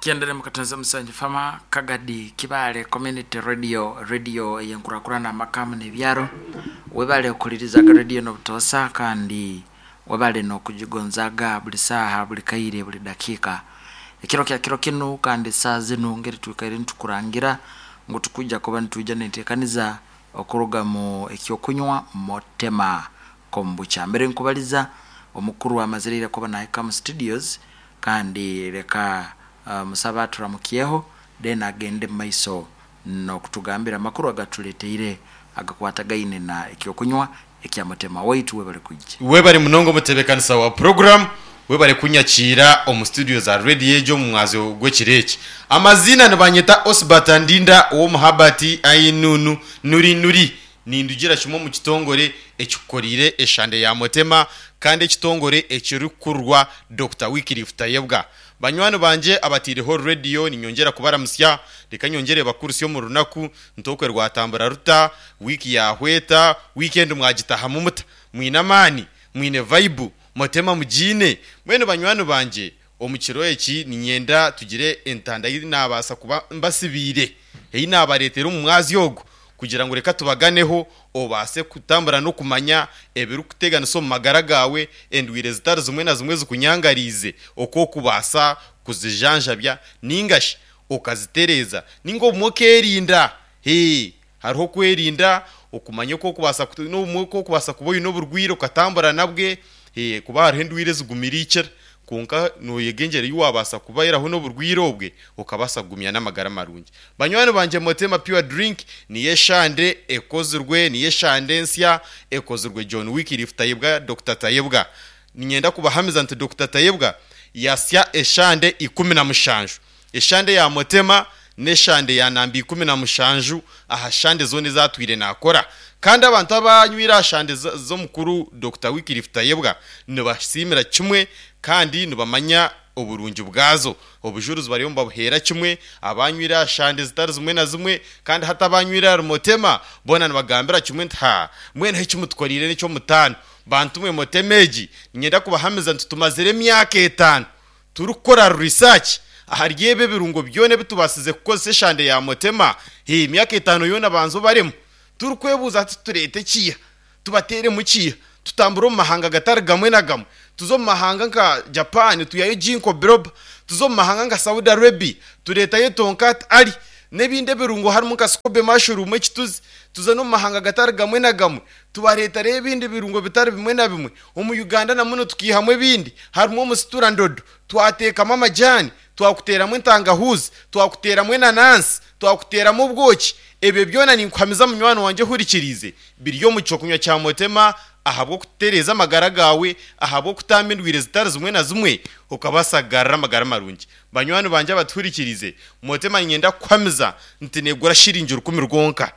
Kyendere mukatonze Musanju Farmer, Kagadi, Kibaale Community Radio, Radio ey'enkurakurana amaka hamu n'ebyaro. Webale kuhulirizaga radio eno butoosa kandi webale n'okugigonzaaga buli saaha, buli kaire, buli dakiika. Ekiro kya kiro kinu kandi saaha zinu ngeri twikaire nitukurangira ngu tukwija kuba nitwija n'enteekaniza okuruga mu eky'okunywa Motema Kombucha. Mbere nkubaliza, omukuru amazire ira kuba nahika mu studios Kandi leka musabe aturamukyeho, then agende mu maiso n'okutugambira amakuru agatuleteire agakwatagaine na eky'okunywa ekya Mutema waitu. Webale kwija. Webale munonga omutebekanisa wa puroguramu, webale kunyakiira omu studio za radio egi omu mwazyo gw'ekiro eki. Amaziina nibanyeta Osbert Ndinda ow'omu Herbert Ainunu Nuri Nuri. Nindugira kimwe omu kitongore ekikukoriire eshande ya Motema kandi ekitongore ekirikukurirwa Dokita Wycliffe Tayebwa. Banywani bangye abataireho rediyo ninyongyera kubaramutsya, reka nyongyere bakurutsye omu runaku nti okwe rwatambura ruta, wiiki yahwa eta, wiikendi mwagitahamu muta? Mwine amaani? Mwine vaibu? Motema mugiine? Mbwenu banywani bangye omu kiro eki niinyenda tugire entanda ei naabaasa kuba mbasibiire, ei naabareetera omu mwazyo ogu, kugira ngu reka tubaganeho, obaase kutambura n'okumanya ebirikuteganisa omu magara gaawe, endwaire zitari zimwe na zimwe ezikunyangariize, oku orikubaasa kuzijanjabya nainga shi okazitereeza, nainga obumwe okeerinda. Hee, hariho okwerinda, okumanya oku orikubaasa, n'obumwe oku orikubaasa kuba oine oburwaire okatambura nabwe, kuba hariho endwaire ezigumire eikira. Kwonka nooyega engyera ei waabaasa kubairaho n'oburwaire obwe okabaasa kugumya n'amagara marungi. Banywani bangye Motema Pure Drink niyo eshande ekozirwe, niyo eshande ensya ekozirwe John Wycliffe Tayebwa, Dokita Tayebwa. Niinyenda kubahamiza nti Dokita Tayebwa yasya eshande 17. Eshande ya Motema n'eshande ya namba 17 aha shande zoona ezi atwire naakora. Kandi abantu abanywire aha shande z'omukuru Dokita Wycliffe Tayebwa nibasiimira kimwe kandi nibamanya oburungi bwazo. Obujurizi bariyo nibabuheera kimwe abanywire aha shande zitari zimwe na zimwe kandi hati abanywire ahari Motema boona nibagambira kimwe nti haa mbwenu eki mutukoreire n'eky'omutaano. Bantu mwe Motema egi niinyenda kubahamiza nti tumazire emyaka etaano Turikukora research ahari ebi ebirungo byona ebi tubaasize kukozesa eshande ya Motema, hee emyaka etaano yoona banza obaremu. Turikwebuuza hati tureete kiiha, tubateeremu kiiha, tutambure omu mahanga gatari gamwe na gamwe, tuze omu mahanga nka Japan twihayo Ginkgo biloba, tuze omu mahanga nka Saudi Arabia tureetayo Tonkat Ali n'ebindi ebirungo harimu nka Scobe mushroom ekituzi, tuze n'omu mahanga gatari gamwe na gamwe tubareetareyo ebindi birungo bitari bimwe na bimwe. Omu Uganda na muno tukiihamu ebindi, harimu omusitura ndodo, twateekamu amajaani, twakuteeramu entangahuuzi, twakuteeramu enanansi, twakuteeramu obwoki. Ebyo byona ninkuhamiza munywani wangye ohurikiriize, biri omu ky'okunywa kya Motema ahabw'okutereeza amagara gaawe, ahabw'okutamba endwaire zitari zimwe na zimwe, okabaasa kugarura amagara marungi. Banywani bangye abatuhurikiriize, Motema niinyenda kukuhamiza nti neegura shiringi rukumi rwonka.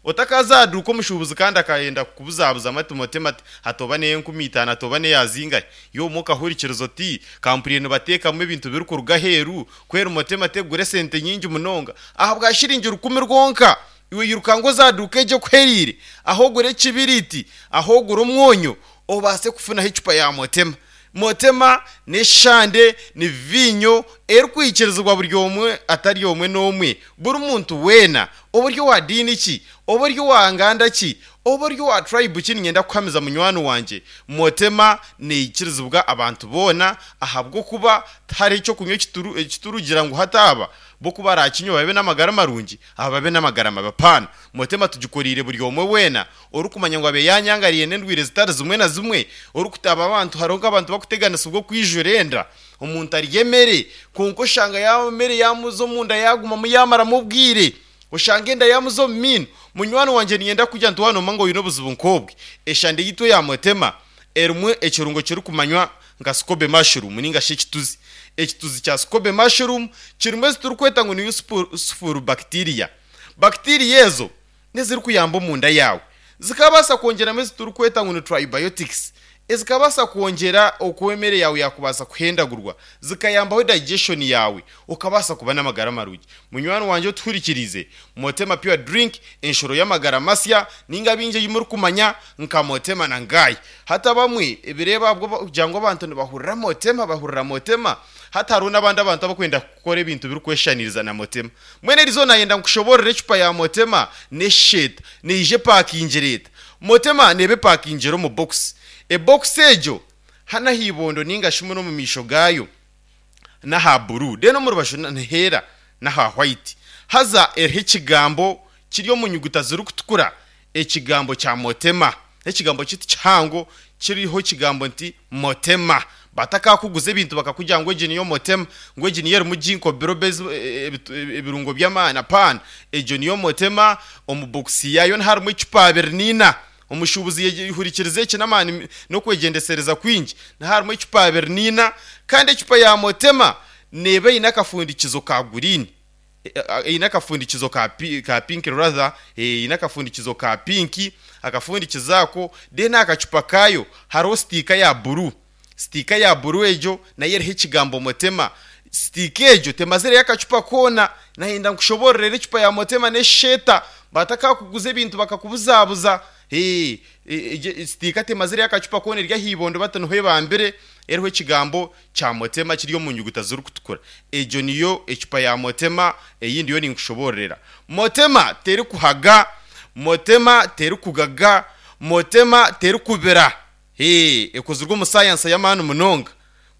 Otakaza aha duuka omushuubuzi kandi akayenda kukubuzabuzamu ati Motema ati hati oba n'eyenkumi itaano ati oba n'eya zingahi? Iwe obumwe okahurikiriza oti kampurire nibateekamu ebintu birikuruga aheeru kweri Motema tegura esente nyingi munonga ahabwa shiringi rukumi rwonka iwe iruka ngu oze aha duuka egyo ekuhereire ahu ogure ekibiriiti ahu ogure omwonyo obaase kufunaho ecupa ya Motema. Motema n'eshande ni viinyo erikwikirizibwa buri omwe atari omwe n'omwe, buri muntu weena, oba ori owa diini ki, oba ori owa nganda ki, oba ori owa tribe ki niinyenda kukuhamiza munywani wangye, Motema neikirizibwa abantu boona ahabw'okuba tihariho eky'okunywa ekiturugira ngu hati aba bo ku baraakinywe babe n'amagara marungi aba babe n'amagara mabi apaana. Motema tugikoriire buri omwe weena Orikumanya ngu abe yaanyangariire n'endwaire zitari zimwe na zimwe, orikutaba abantu, hariho nk'abantu bakuteganisibwa okwijura enda, omuntu arya emere kwonka oshanga yaaba emere yaamuza omunda yaagumamu yaamaramu obwire, oshanga enda yaamuza omu maino. Munywani wangye niinyenda kukugira nti waaba noomanya ngu oine obuzibu nk'obwe, eshande yaitu eya Motema erimu ekirungo kirikumanywa nka scobe mushroom nainga shi ekituzi. Ekituzi kya scobe mushroom kirimu ezi turikweta ngu ni useful bacteria. Bacteria ezo n'ezirikuyamba omunda yaawe. Zikabaasa kwongyeramu ezi turikweta ngu ni tribiotics. Ezikabaasa kwongyera oku emere yaawe yaakubaasa kuhendagurwa, zikayambaho digestion yaawe, okabaasa kuba n'amagara marungi. Munywani wangye otuhurikiriize, Motema Pure Drink, enshuro y'amagara masya, ninga baingi ei murikumanya nka Motema na Ngai. Hati abamwe ebireebo ahabw'okugira ngu abantu nibahurira Motema, bahurira Motema, hati hariho n'abandi abantu abarikwenda kukora ebintu birikweshushaniriza na Motema. Mbwenu erizooba naayenda nkushoboorore ecupa ya Motema n'eshesheta, neija epakingire eta? Motema neeba epakingire omu bokisi. Ebokisi egyo hanu aha ibondo nainga shi muno omu maisho gaayo n'aha buru then omu rubaju niheera n'aha white. Haza eriho ekigambo kiri omu nyuguta zirikutukura ekigambo kya Motema. N'ekigambo kyeitu kihango kiriho ekigambo nti Motema. Batakakuguza ebintu bakakugira ngu egi niyo Motema, ngu egi niyo erimu ginkgo biloba ebirungo by'amaani apana. Egyo niyo Motema omu bokisi yaayo niharimu ecupa abiri n'ina. Omushuubuzi yehurikiriza eki n'amaani n'okwegyendesereza kwingi. Niharimu ecupa abiri n'ina kandi ecupa ya Motema neeba eine akafundikizo ka guriini. Eine akafundikizo ka ka pinki rather, eine akafundikizo ka pinki, akafundikizo ako, then aha kacupa kaayo hariho sitiika ya buru. Sitiika ya buru egyo nayo eriho ekigambo Motema. Sitiika egyo temazireyo akacupa koona. Nayenda nkushoboororere ecupa ya Motema n'eshesheta. Batakakuguza ebintu bakakubuzabuza. Sitiika temazireyo akacupa koona eri aha ibondo bati niho ebambire eriho ekigambo kya Motema kiri omu nyuguta zirikutukura. Egyo niyo ecupa ya Motema ei ndiyo ninkushoboororera. Motema terikuhaga, Motema terikugaga, Motema terikubira. Hee, ekozirwe omu sayansi y'amaani munonga.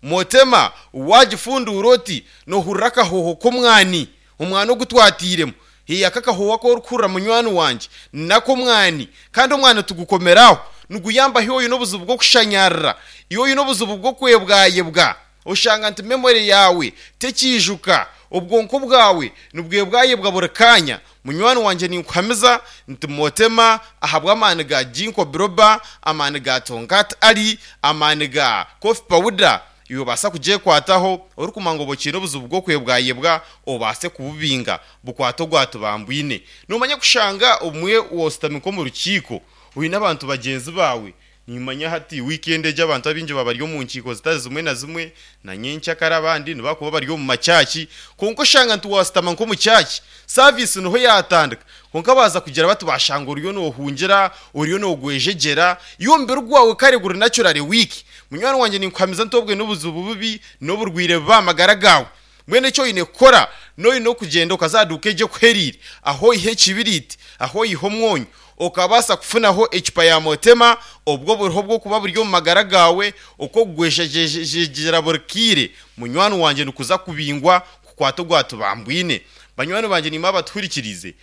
Motema waagifunduura oti, noohurira akahooho k'omwani, omwani ogu twatairemu. Hee, aka akahooho aku orikuhurira munywani wangye, n'ak'omwani. Kandi omwani tigukomera aho, niguyamba hi oine obuzibu bw'okushanyarara, iwe oine obuzibu bw'okwebwayebwa. Oshanga nti memory yaawe tekiijuka, obwonko bwawe nibwebwayebwa buri kaanya. Munywani wangye ninkuhamiza nti Motema ahabw'amaani ga Ginkgo biloba, amaani ga Tongkat Ali, amaani ga Coffee powder, iwe obaasa kugyekwataho orikumanya ngu oba okiine obuzibu bw'okwebwayebwa obaase kububinga bukwate ogwatubambwine. Nomanya kushanga obumwe woositami nk'omu rukiiko oine abantu bagyenzi baawe Nimanya hati wiikendi egi abantu abaingi baba bari omu nkiiko zitari zimwe na zimwe, na nyenkyakare abandi nibakuba bari omu makyaki, kwonka oshanga nti waashutama nk'omu kyaki, saviisi niho yaatandika, kwonka baaza kugira bati baashanga oriyo noohungira, oriyo noogwejegyera, iwe omubiri gwawe kare guri naturally weak. Munywani wangye ninkuhamiza nti obwe n'obuzibu bubi, n'oburwaire bubi aha magara gaawe. Mbwenu eki oine kukora, n'oine okugyenda okaza aha duuka egyo ekuhereire, ahu oiha ekibiriiti, ahu oiha omwonyo, okabaasa kufunaho ecupa ya Motema, obwo oburiho bw'okuba buri omu magara gaawe, okw'okugwejegyera buri kaire, munywani wangye nikuza kubingwa kukwata ogwatubambwine. Banywani bangye naimwe abatuhurikiriize.